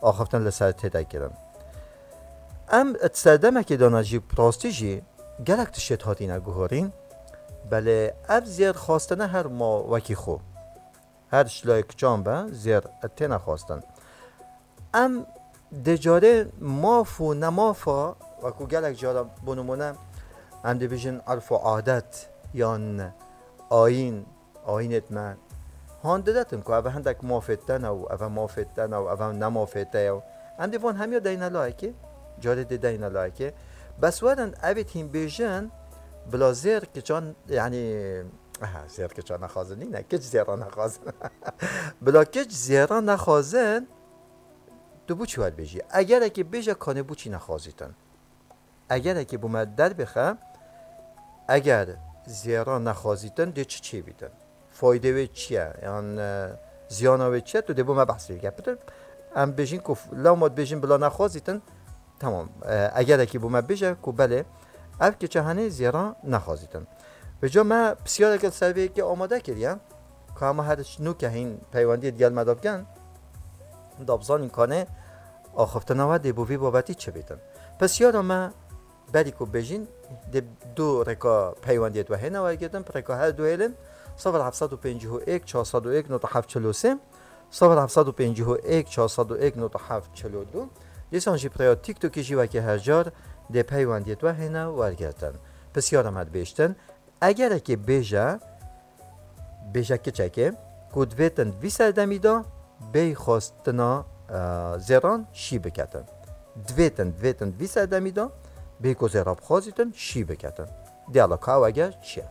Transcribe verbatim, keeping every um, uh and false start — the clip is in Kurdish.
axiftin li ser tê de kirin. Em di serdemekê de ne jî bi rastî jî gelek tişt hatine guhorîn. Belê ev zêr xwastine her ma wekî xwe. Her şilay kiçan be zêr têne xwastin. Em dê carê maf û nemafa, wekû gelek cara bo nimûne, em dibêjin erf û adet yan ayîn, ayînêt me han didetin ku ev hindek mafê te ne û ev mafê te ne û ev ne mafê te ye û em dê van hemiya deyne layekê, carê dê deyne layekê. Bes werin evêt hîn bêjin, bila zêr kiçan, yanî, aha, zêr kiçan nexwazin nîne, kiç zêra nexwazin. Bila kiç zêra nexwazin, tu bo çi wer bêjî? Egerekî bêje kanê bo çi nexwazîtin? Egerekî bo me derbixe, eger zêra nexwazîtin, dê çi çêbîtin? Faydê wê çi ye? Yan, e, ziyana wê çi ye? Tu dê bo me behsê bike. Pitir, em bêjin ku f-, lewma dibêjin bila nexwazîtin, temam. E, egerekî bo me bêje ku belê, ev kiçe henê zêra nexwazîtin. Vêca me pisyareke li ser vê yekê amade kiriye. Ka em her nûke hîn peywendiyê digel me de bikin, da bizanîn kanê axiftina we dê bo vî babetî çi bîtin. Pisyara me berî ku bêjin, dê du rêka peywendiyê we hêne wergirtin, bi rêka her du hêlên sifir heft sed û pêncî û yek çar sed û yek nokta heft çil û sê, sifir heft sed û pêncî û yek çar sed û yek nokta heft çil û du. Dîsan jî bi rêya TikTokê jî wekî her car dê peywendiyê we hêne wergirtin. Pisyara me dibêjtin, egerekê bêje, bêje kiçekê, ku divêtin vî serdemî de bêy xwestina, e, zêran şî biketin. Divêtin, divêtin vî serdemî de bêy ku zêra bixwazîtin şî biketin. Diyala ka ew eger çi ye?